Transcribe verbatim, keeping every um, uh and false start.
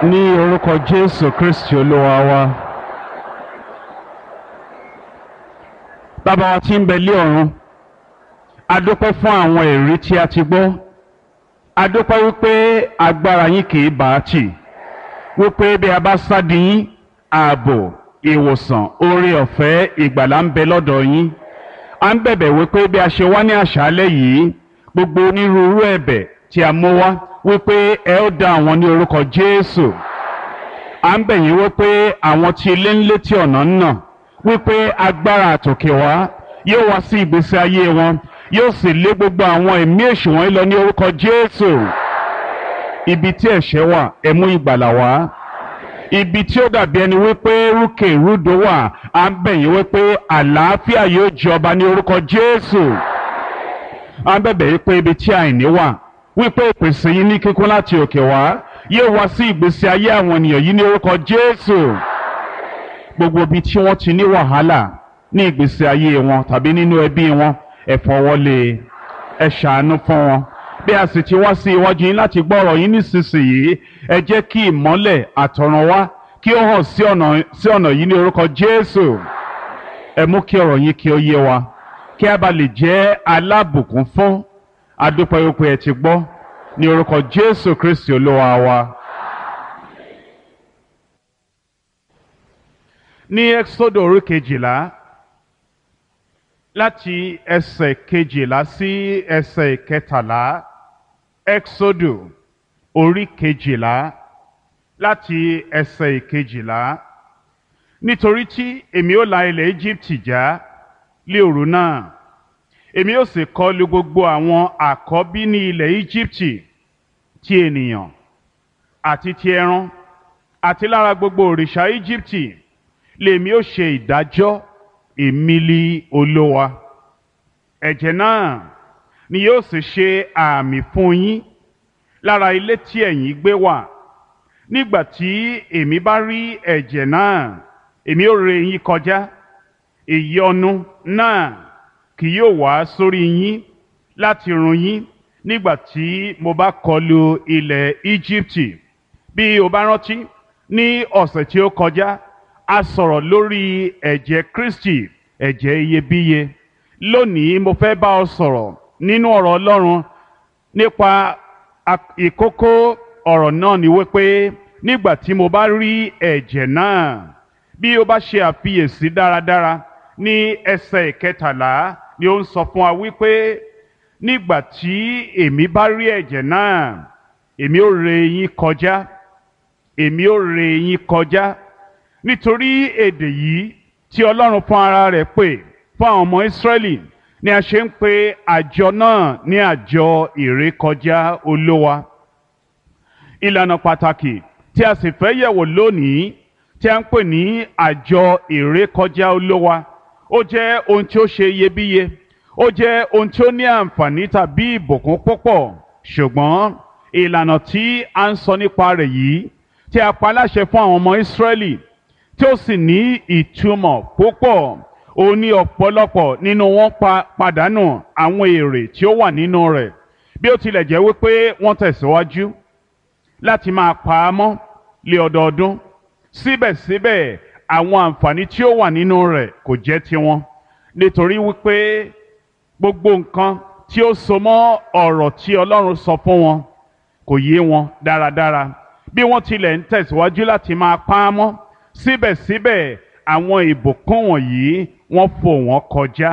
Ní orúkọ Jésù Kristi Olúwa wa. Bàbá wa tí ń bẹ lé ọ̀run, a dúpẹ́ fún àwọn ẹ̀rí tí a ti gbọ́. A dúpẹ́ wípé agbára yín kì í bá a tì, wípé bí a bá sádi yín, ààbò, ìwòsàn, oore ọ̀fẹ́, ìgbàlà ń bẹ lọ́dọ̀ yín. A ń bẹ̀bẹ̀ wípé bí a ṣe wá ní àṣálẹ́ yìí, gbogbo onírúurú ẹ̀bẹ̀ tí a mú wá, wípé ẹ ó dá àwọn ní orúkọ Jésù. À ń bẹ̀ yín wípé àwọn tí ilé ń létí ọ̀nà ń nà, wípé agbára àtòkè wá yóò wá sí ìgbésí ayé wọn, yóò sì lé gbogbo àwọn ẹ̀mí èṣù wọ̀nyí lọ ní orúkọ Jésù. Ibi tí ẹ̀ṣẹ̀ wà, ẹ mú ìgbàlà wá. Ibi tí ó dàbí ẹni wípé rúkè rúdò wà, à ń bẹ̀ yín wípé àlàáfíà yóò jọba ní orúkọ Jésù. À ń bẹ̀bẹ̀ wípé ibi tí àìní wà, wípé ìpèsè yín ní kíkún láti òkè wá yóò wá sí ìgbésí ayé àwọn ènìyàn yìí ní orúkọ Jésù. Gbogbo ibi tí wọ́n ti ní wàhálà ní ìgbésí ayé wọn tàbí nínú ẹbí wọn, ẹ fọwọ́lé, ẹ ṣàánú fún wọn. Bí a sì ti wá sí iwájú yín láti gbọ́ ọ̀rọ̀ yín nísinsìnyí, ẹ jẹ́ kí ìmọ́lẹ̀ àtọ̀run wá kí ó hàn sí ọ̀nà sí ọ̀nà yìí ní orúkọ Jésù. Ẹ mú kí ọ̀rọ̀ yín kí ó yé wa, kí a bá lè jẹ́ alábùkún fún. Adúpẹ́ wípé ẹ ti gbọ́ ní orúkọ Jésù Kristi Olúwa wa. Ní Ẹ́kísódù orí kejìlá, láti ẹsẹ̀ kejìlá sí ẹsẹ̀ kẹtàlá. Ẹ́kísódù orí kejìlá, láti ẹsẹ̀ kejìlá. Nítorí tí èmi ó la ilẹ̀ Íjíbítì já lé òru náà, èmi ó sì kọlù gbogbo àwọn àkọ́bí ní ilẹ̀ Íjíbítì, ti ènìyàn àti ti ẹran, àti lára gbogbo òrìṣà Íjíbítì lèmi ó ṣe ìdájọ́. Èmi li Olúwa. Ẹ̀jẹ̀ náà ni yóò sì ṣe àmì fún yín lára ilé tí ẹ̀yin gbé wà. Nígbà tí èmi bá rí ẹ̀jẹ̀ náà, èmi ó ré yín kọjá. Ìyọnu náà kì yóò wá sórí yín láti run yín nígbà tí mo bá kọlù ilẹ̀ Íjíbítì. Bí o bá rántí, ní ọ̀sẹ̀ tí ó kọjá, a sọ̀rọ̀ lórí ẹ̀jẹ̀ Kristi, ẹ̀jẹ̀ iyebíye. Lónìí mo fẹ́ bá ọ sọ̀rọ̀ nínú ọ̀rọ̀ Ọlọ́run nípa ìkókó ọ̀rọ̀ náà ni wípé nígbà tí mo bá rí ẹ̀jẹ̀ náà. Bí o bá ṣe àfiyèsí dáradára ní ẹsẹ̀ ìkẹtàlá ni ó ń sọ fún wa wípé nígbà tí èmi bá rí ẹ̀jẹ̀ náà, èmi ó ré yín kọjá, èmi ó ré yín kọjá. Nítorí èdè yìí tí Ọlọ́run fún ara rẹ̀ pè fún àwọn ọmọ Ísírẹ́lì ni a ṣe ń pe àjọ náà ní àjọ ìrékọjá Olúwa. Ìlànà pàtàkì tí a sì fẹ́ yẹ̀wò lónìí tí a ń pè ní àjọ ìrékọjá Olúwa, ó jẹ́ ohun tí ó ṣe iyebíye, ó jẹ́ ohun tí ó ní àǹfààní tàbí ìbùkún púpọ̀. Ṣùgbọ́n ìlànà tí a ń sọ nípa rẹ̀ yìí tí a pa láṣẹ fún àwọn ọmọ Ísírẹ́lì, tí ó sì ní ìtumọ̀ púpọ̀, ó ní ọ̀pọ̀lọpọ̀ nínú wọn pa pàdánù àwọn èrè tí ó wà nínú rẹ̀. Bí ó tilẹ̀ jẹ́ wípé wọ́n tẹ̀síwájú láti máa pa á mọ́ lé ọdọọdún, síbẹ̀síbẹ̀ àwọn àǹfààní tí ó wà nínú rẹ̀ kò jẹ́ tiwọn, nítorí wípé gbogbo nǹkan tí ó so mọ́ ọ̀rọ̀ tí Ọlọ́run sọ fún wọn kò yé wọn dáradára. Bí wọ́n tilẹ̀ ń tẹ̀síwájú láti máa pa á mọ́, síbẹ̀síbẹ̀ àwọn ìbùkún wọ̀nyí wọ́n fò wọ́n kọjá.